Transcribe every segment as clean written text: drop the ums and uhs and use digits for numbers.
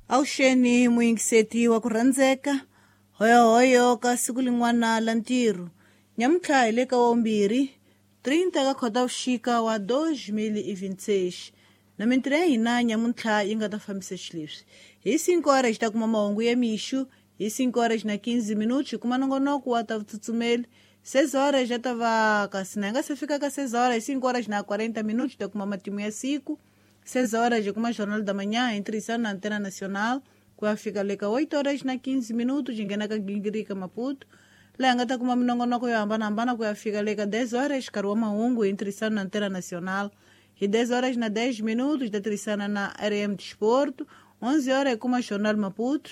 Avuxeni muyingiseti wa ku rhandzeka, hoyohoyo ka siku lin'wana la ntirho. Nyamuntlha hi le ka wavumbirhi, 30 ka Khotavuxika wa 2026. Na mintirho ya hina nyamuntlha yi nga ta fambisa xileswi. Hi 5 horas hi ta kuma mahungu ya mixo, hi 5 horas na 15 minutos hi kuma nongonoko wa ta vutsutsumeli. 6 horas ya ta va kasi na hi nga se fika ka 6 horas, hi 5 horas na 40 minutos hi ta kuma matimu ya siku. 6 horas hi kuma Jornal da Manhã em tirhisana na Antena Nacional, ku ya fika le ka 8 horas na 15 minutos hi nghena ka Gingirika Maputo, laha hi nga ta kuma minongonoko yo hambanahambana ku ya fika le ka 10 horas nkarhi wa mahungu hi tirhisana na Antena Nacional. Hi 10 horas na 10 minutos hi ta tirhisana na RM Desporto. 11 horas hi kuma Jornal Maputo.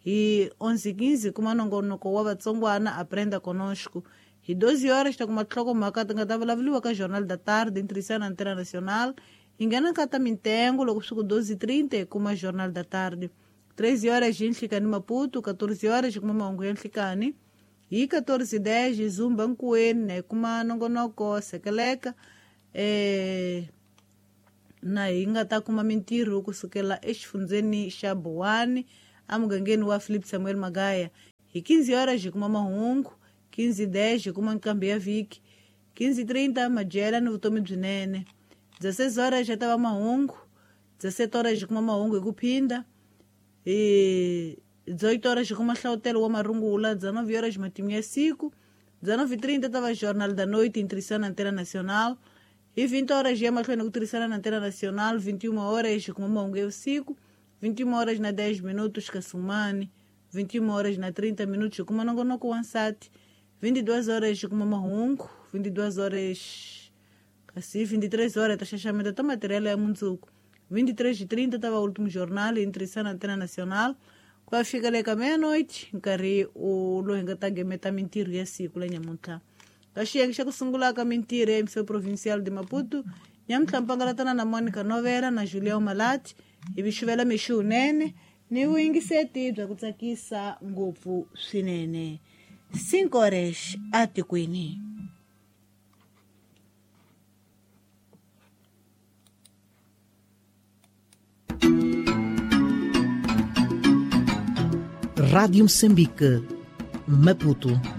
Hi 11:15 hi kuma nongonoko wa Vatsongwana Aprenda Conosco. Hi 12 horas hi ta kuma tinhlokomhaka ti nga ta vulavuriwa ka Jornal da Tarde hi tirhisana na Antena Nacional. Hi nghena ka ta mintengo loko swi ku 12:30 hi kuma Jornal da Tarde. 13 horas hi nhlikani Maputo, 14 horas hi kuma mahungu ya nhlikani. Hi 14:10 hi Zumba Nkuweni na hi kuma nongonoko Sekeleka, na hi nga ta kuma mintirho kusukela exifundzeni xa Buwani emugangeni wa Philip Samuel Magaya. Hi 15 horas hi kuma mahungu, 15:10 hi kuma nqambi ya vhiki, 15:30 madyela ni vutomi byinene. 16 horas ya ta va mahungu, 17 horas hi kuma mahungu hi ku phinda. Hi 18 horas hi kuma hlavutelo wa marungula, 19 horas matimu ya siku, 19:30 ta va Jornal da Noite em tirhisana na Antena Nacional. Hi 20 horas ya mahlweni ku tirhisana na Antena Nacional, 21 horas hi kuma mahungu ya vusiku, 21 horas na 10 minutos Kasumani, 21 horas na 30 minutos hi kuma nongonoko wa nsati, 22 horas hi kuma mahungu, 22 horas kasi 23 horas ta xaxameta ta material ya mundzuku. 23:30 ta va último jornal em tirhisana na Antena Nacional. Ku ya fika le ka meia-noite nkarhi lowu hi nga ta gemeta mintirho ya siku la nyamuntlha. Ka xiyenge xa ku sungula ka mintirho ya MCO Provincial de Maputo, nyamuntlha mpangalatana na Monica Novela na Julião Malati hi vi xuvela mixo wunene ni vuyingiseti bya ku tsakisa ngopfu swinene. 5 horas atikweni. Rádio Moçambique, Maputo.